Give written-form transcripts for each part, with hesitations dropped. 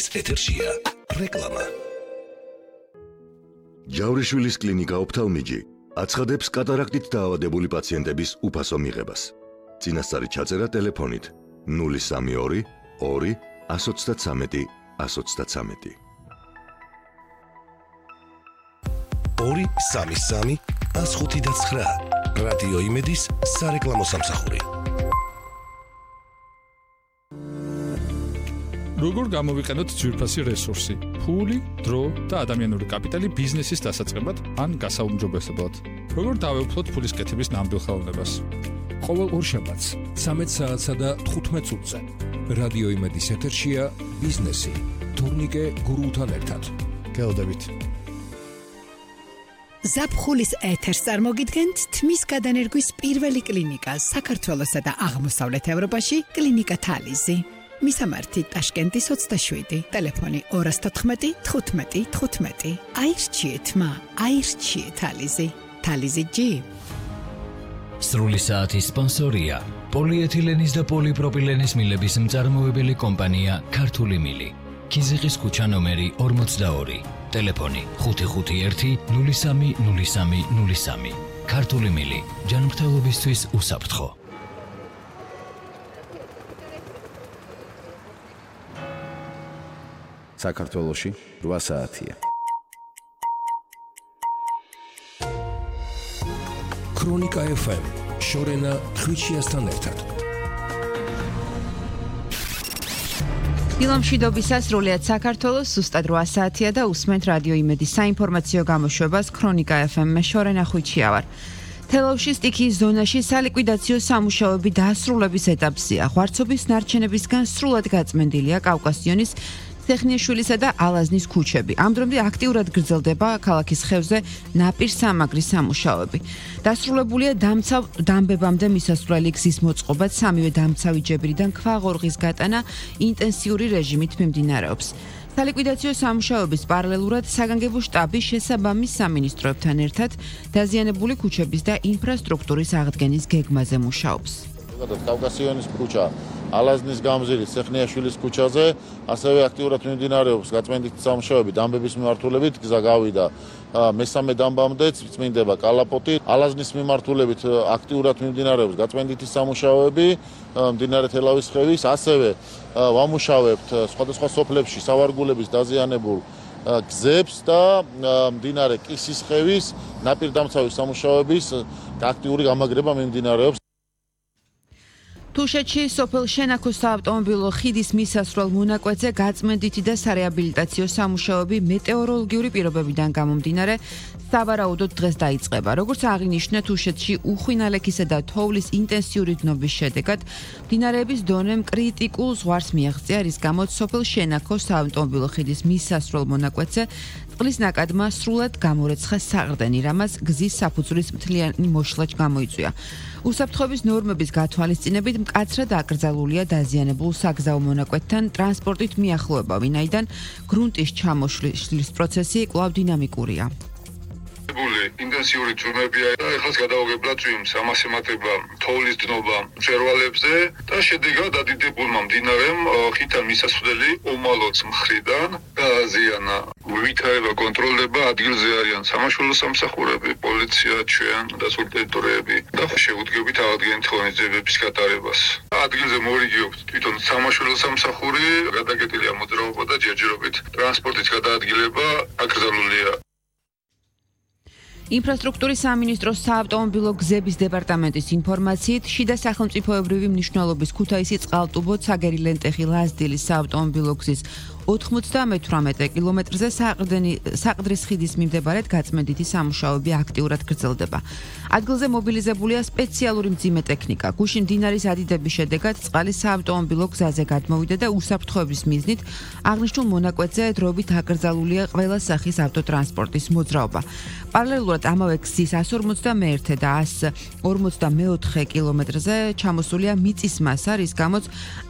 იმედის ეთერშია რეკლამა. ჯავრიშვილის კლინიკა ოფთალმიჯი აცხადებს კატარაქტით დაავადებული პაციენტების უფასო მიღებას. წინასწარი ჩაწერა ტელეფონით 032 2 133 133. 233 159 რადიო იმედის სარეკლამო სამსახური. როგორ გამოვიყენოთ ძვირფასი რესურსი, ფული, დრო და ადამიანური კაპიტალი ბიზნესის დასაწყებად ან გასაუმჯობესებლად. როგორ დავეუფლოთ ფულის კეთების ნამდვილ ხელოვნებას. ყოველ ორშაბათს 13 საათსა და 15 წუთზე რადიო იმედის ეთერშია ბიზნესი თურნიკე გურუთან ერთად. გელოდებით. ზაფხულის ეთერს წარმოგიდგენთ თმის გადანერგვის პირველი კლინიკა საქართველოსა და აღმოსავლეთ ევროპაში კლინიკა თალიზი. მისამართი ტაშკენტის 27, ტელეფონი 214 15 15. აირჩიეთ მა, აირჩიეთ თალიზი. თალიზი G. სრული საათის სპონსორია პოლიეთილენის და პოლიპროპილენის მილების მწარმოებელი კომპანია ქართული მილი. ქიზიყის ქუჩა ნომერი 42, ტელეფონი 551 03 03 03. ქართული მილი, ჯანმრთელობისთვის უსაფრთხო. საქართველოში 8 საათია. ქრონიკა FM შორენა ხვიჩიასთან ერთად. დილამშვიდობისას სრულიად საქართველოს ზუსტად 8 საათია და უსმენთ რადიო იმედის საინფორმაციო გამოშვებას ქრონიკა FM-მე შორენა ხვიჩია ვარ. თელავში სტიქიის ზონაში სალიკვიდაციო სამუშაოები დასრულების ეტაპზეა. ღვარცობის ნარჩენებისგან სრულად გაწმენდილია კავკასიონის ტექნიაშვილისა და ალაზნის ქუჩები. ამ დრომდე აქტიურად გრძელდება ქალაქის ხევზე ნაპირსამაგრის სამუშაოები. დასრულებულია დამცავ დამბებამდე მისასვლელი გზის მოწყობა, სამივე დამცავი ჯებრიდან ქვაღორღის გატანა ინტენსიური რეჟიმით მიმდინარეობს. სალიკვიდაციო სამუშაოების პარალელურად საგანგებო შტაბი შესაბამის სამინისტროებთან ერთად დაზიანებული ქუჩების და ინფრასტრუქტურის აღდგენის გეგმაზე მუშაობს. კავკასიონის ქუჩა, ალაზნის გამზირის, ტექნიაშვილის ქუჩაზე ასევე აქტიურად მიმდინარეობს გაწმენდითი სამუშაოები დამბების მიმართულებით, გზა გავიდა მესამე დამბამდეც წმინდება კალაპოტი, ალაზნის მიმართულებით აქტიურად მიმდინარეობს გაწმენდითი სამუშაოები მდინარე თელავის ხევის, ასევე ვამუშავებთ სხვადასხვა სოფლებში სავარგულების დაზიანებულ გზებს და მდინარე კისის ხევის ნაპირდამცავი სამუშაოების აქტიური გამაგრება მიმდინარეობს. თუშეთში სოფელ შენაქოს საავტომობილო ხიდის მისასვლელ მონაკვეთზე გაწმენდითი და სარეაბილიტაციო სამუშაოები მეტეოროლოგიური პირობებიდან გამომდინარე სავარაუდოდ დღეს დაიწყება. როგორც აღინიშნა, თუშეთში უხვინალექისა და თოვლის ინტენსიური დნობის შედეგად მდინარეების დონემ კრიტიკულ ზღვარს მიაღწია, რის გამოც სოფელ შენაქოს საავტომობილო ხიდის მისასვლელ მონაკვეთზე წყლის ნაკადმა სრულად გამორეცხა საყრდენი, რამაც გზის საფუძვლის მთლიანი მოშლა გამოიწვია. უსაფრთხოების ნორმების გათვალისწინებით მკაცრად აკრძალულია დაზიანებულ საგზაო მონაკვეთთან ტრანსპორტით მიახლოება, ვინაიდან გრუნტის ჩამოშლის პროცესი კვლავ დინამიკურია. ინტენსიური წვიმებია და ეხლა გადაუგებლად წვიმს, ამას ემატება თოვლის დნობა მწვერვალებზე და შედეგად ადიდებულმა მდინარემ ხითან მისასვლელი უმალოც მხრიდან გააზიანა. ვითარება კონტროლდება, ადგილზე არიან სამაშველო სამსახურები, პოლიცია, ჩვენ და სულ ტერიტორიები და შეუდგებით აღდგენით ღონისძიებების გატარებას. ადგილზე მორიგიობს თვითონ სამაშველო სამსახური, გადაკეტილია მოძრაობა და ჯერჯერობით ტრანსპორტის გადაადგილება აკრძალულია. ინფრასტრუქტურის სამინისტროს საავტომობილო გზების დეპარტამენტის ინფორმაციით, შიდა სახელმწიფოებრივი მნიშვნელობის ქუთაისი წყალტუბო ცაგერი ლენტეხი ლაზდილის საავტომობილო გზის 98 კილომეტრზე საყდრის ხიდის მიმდებარედ გაწმენდითი სამუშაოები აქტიურად გრძელდება. ადგილზე მობილიზებულია სპეციალური მძიმე ტექნიკა. გუშინ მდინარის ადიდების შედეგად წყალი საავტომობილო გზაზე გადმოვიდა და უსაფრთხოების მიზნით აღნიშნულ მონაკვეთზე დროებით აკრძალულია ყველა სახის ავტოტრანსპორტის მოძრაობა. პარალელურად ამავე გზის 151 და 144 კილომეტრზე ჩამოსულია მიწის მასა, რის გამოც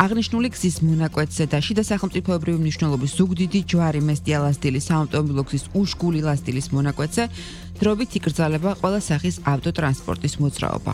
აღნიშნული გზის მონაკვეთზე და შიდა სახელმწიფოებრივი მნიშვნელობის ზუგდიდი ჯვარი მესტია ლაზდილის საავტომობილო გზის უშგული ლაზდილის მონაკვეთზე დროებით იკრძალება ყველა სახის ავტოტრანსპორტის მოძრაობა.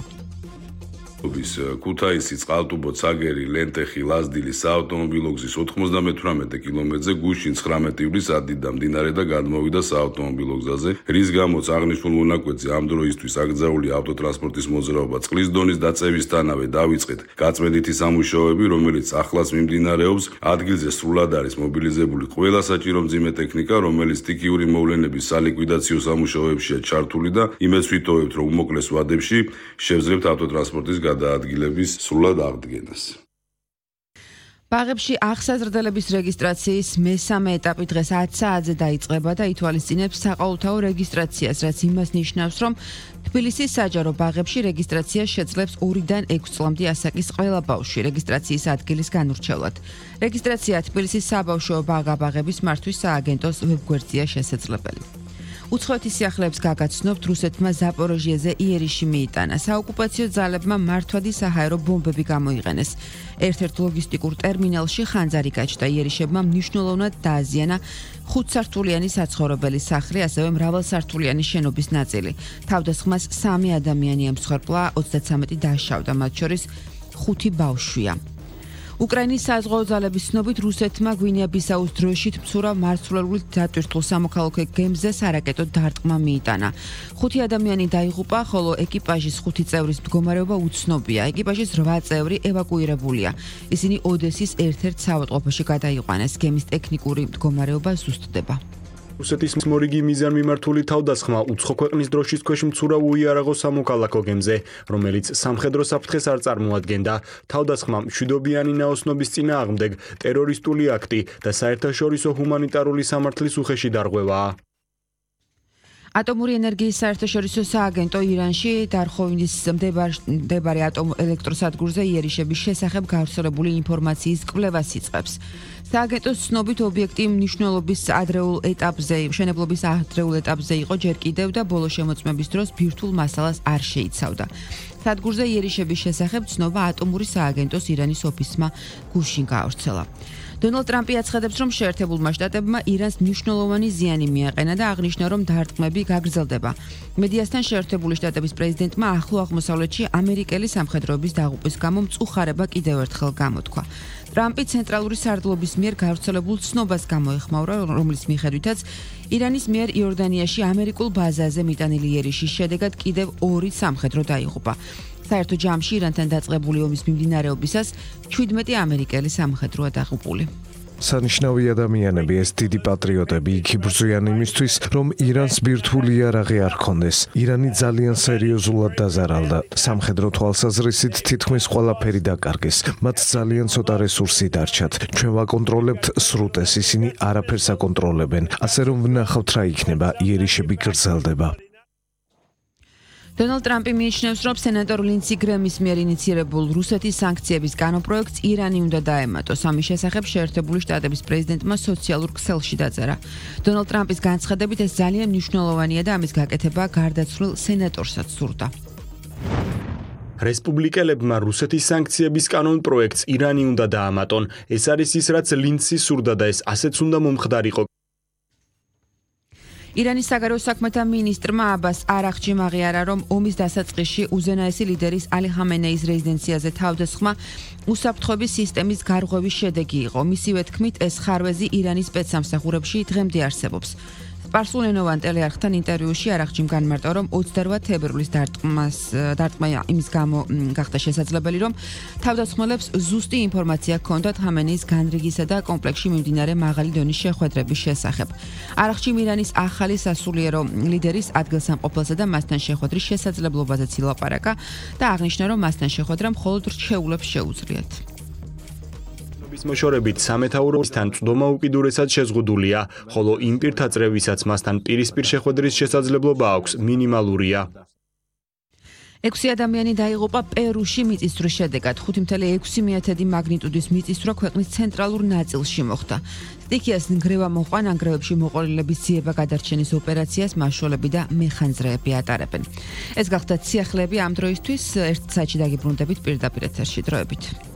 ქუთაისი, წყალტუბო, ცაგერი, ლენტეხი, ლაზდილი საავტომობილო გზის 98 კილომეტრზე გუშინ 19 ივლის ადიდა მდინარე და გადმოვიდა საავტომობილო გზაზე, რის გამოც აღნიშნულ მონაკვეთზე ამ დროისთვის აკრძალული ავტოტრანსპორტის მოძრაობა წყლის დონის დაწევისთანავე დავიწყეთ გაწმენდითი სამუშაოები, რომელიც ახლაც მიმდინარეობს. ადგილზე სრულად არის მობილიზებული ყველა საჭირო მძიმე ტექნიკა, რომელიც სტიქიური მოვლენების სალიკვიდაციო სამუშაოებშია ჩართული და იმედს ვიტოვებთ, რომ უმოკლეს ვადებში შევძლებთ ავტოტრანსპორტის გადაადგილების სრულად აღდგენას. ბაღებში აღსაზრდელების რეგისტრაციის მესამე ეტაპი დღეს 10 საათზე დაიწყება და ითვალისწინებს საყოველთაო რეგისტრაციას, რაც იმას ნიშნავს, რომ თბილისის საჯარო ბაღებში რეგისტრაცია შეძლებს 2-დან 6 წლამდე ასაკის ყველა ბავშვი რეგისტრაციის ადგილის განურჩევლად. რეგისტრაცია თბილისის საბავშვო ბაღ-აბაღების მართვის სააგენტოს ვებგვერდზეა შესაძლებელი. უცხოეთის სიახლეებს გაგაცნობთ, რუსეთმა ზაპოროჟიეზე იერიში მიიტანა. საოკუპაციო ძალებმა მართვადი საჰაერო ბომბები გამოიყენეს. ერთ-ერთ ლოგისტიკურ ტერმინალში ხანძარი გაჩნდა, იერიშებმა მნიშვნელოვნად დააზიანა 5-სართულიანი საცხოვრებელი სახლი, ასევე მრავალსართულიანი შენობის ნაწილი. თავდასხმას 3 ადამიანი ემსხვერპლა, 33 დაშავდა, მათ შორის 5 ბავშვია. უკრაინის საზღვაო ძალების ცნობით რუსეთმა გვინეა-ბისაუს დროშით მცურავ მარცვლეული დატვირთულ სამოქალაქო გემზე სარაკეტო დარტყმა მიიტანა. 5 ადამიანი დაიღუპა, ხოლო ეკიპაჟის 5 წევრის მდგომარეობა უცნობია. ეკიპაჟის 8 წევრი ევაკუირებულია. ისინი ოდესის ერთ-ერთ საავადმყოფოში გადაიყვანეს. გემის ტექნიკური მდგომარეობა ზუსტდება. რუსეთის მორიგი მიზანმიმართული თავდასხმა უცხო ქვეყნის დროშის ქვეშ მცურავ უიარაღო სამოქალაქო გემზე, რომელიც სამხედრო საფრთხეს არ წარმოადგენდა. თავდასხმამ მშვიდობიანი ნაოსნობის წინააღმდეგ ტერორისტული აქტი და საერთაშორისო ჰუმანიტარული სამართლის უხეში დარღვევაა. ატომური ენერგიის საერთაშორისო სააგენტო ირანში დარხოვნის მდებარე ატომელექტროსადგურზე იერიშების შესახებ გავრცელებული ინფორმაციის კვლევას იწყებს. სააგენტოს ცნობით ობიექტი მნიშვნელობის ადრეულ ეტაპზე, მშენებლობის ადრეულ ეტაპზე იყო ჯერ კიდევ და ბოლო შემოწმების დროს ბირთვულ მასალას არ შეიცავდა. სადგურზე იერიშების შესახებ ცნობა ატომური სააგენტოს ირანის ოფისმა გუშინ გაავრცელა. დონალდ ტრამპი აცხადებს, რომ შეერთებულმა შტატებმა ირანს მნიშვნელოვანი ზიანი მიაყენა და აღნიშნა, რომ დარტყმები გაგრძელდება. მედიასთან შეერთებული შტატების პრეზიდენტმა ახლო აღმოსავლეთში ამერიკელი სამხედროების დაღუპვის გამო მწუხარება კიდევ ერთხელ გამოთქვა. ტრამპი ცენტრალური სარდლობის მიერ გავრცელებულ ცნობას გამოეხმაურა, რომლის მიხედვითაც ირანის მიერ იორდანიაში ამერიკულ ბაზაზე მიტანილი იერიშის შედეგად კიდევ 2 სამხედრო დაიღუპა. საერთო ჯამში ირანთან დაწყებული ომის მიმდინარეობისას 17 ამერიკელი სამხედროა დაღუპული. სანიშნავი ადამიანები, ეს დიდი პატრიოტები იქ იბრძვიან იმისთვის, რომ ირანს ბირთვული იარაღი არ ჰქონდეს. ირანი ძალიან სერიოზულად დაზარალდა. სამხედრო თვალსაზრისით თითქმის ყველაფერი დაკარგეს. მათ ძალიან ცოტა რესურსი დარჩათ. ჩვენ ვაკონტროლებთ სრუტეს, ისინი არაფერს აკონტროლებენ. ასე რომ ვნახავთ რა იქნება, იერიშები გრძელდება. დონალდ ტრამპი მიიჩნევს, რომ სენატორ ლინდსი გრემის მიერ ინიცირებულ რუსეთის სანქციების განპროექტს ირანი უნდა დაემატოს. ამის შესახებ შეერთებული შტატების პრეზიდენტმა სოციალურ ქსელში დაწერა. დონალდ ტრამპის განცხადებით ეს ძალიან მნიშვნელოვანია და ამის გაკეთება გარდაცვლილ სენატორსაც სურდა. რესპუბლიკელებმა რუსეთის სანქციების კანონპროექტს ირანი უნდა დაამატონ. ეს არის ის, რაც ლინდსი სურდა და ეს ასეც უნდა მომხდარიყო. ირანის საგარეო საქმეთა მინისტრმა აბას არაღჩიმ აღიარა, რომ ომის დასაწყისში უზენაესი ლიდერის ალი ხამენეის რეზიდენციაზე თავდასხმა უსაფრთხოების სისტემის გარღვევის შედეგი იყო. მისივე თქმით, ეს ხარვეზი ირანის სპეცსამსახურებში დღემდე არსებობს. სპარსულენოვან ტელეარხთან ინტერვიუში არაღჩიმ განმარტა, რომ 28 თებერვლის დარტყმა იმის გამო გახდა შესაძლებელი, რომ თავდასხმელებს ზუსტი ინფორმაცია ჰქონდათ ხამენეის განრიგისა და კომპლექსში მიმდინარე მაღალი დონის შეხვედრების შესახებ. არაღჩიმ ირანის ახალი სასულიერო ლიდერის ადგილსამყოფელსა და მასთან შეხვედრის შესაძლებლობაზეც ილაპარაკა და აღნიშნა, რომ მასთან შეხვედრა მხოლოდ რჩეულებს შეუძლიათ. მოშორებით სამეთაუროსთან წვდომა უკიდურესად შეზღუდულია, ხოლო იმ პირთა წრევისაც მასთან პირისპირ შეხვედრის შესაძლებლობა აქვს მინიმალურია. 6 ადამიანი დაიღუპა პერუში მიწისძვრის შედეგად. 5.6 მაგნიტუდის მიწისძვრა ქვეყნის ცენტრალურ ნაწილში მოხდა. სტიქიას ნგრევა მოყვა, ნანგრევებში მოყოლილების ძიება გადარჩენის ოპერაციას მაშველები და მეხანძრეები ატარებენ. ეს გახდა სიახლეები ამ დროისთვის. ერთ საათში დაგიბრუნდებით პირდაპირ ეთერში დროებით.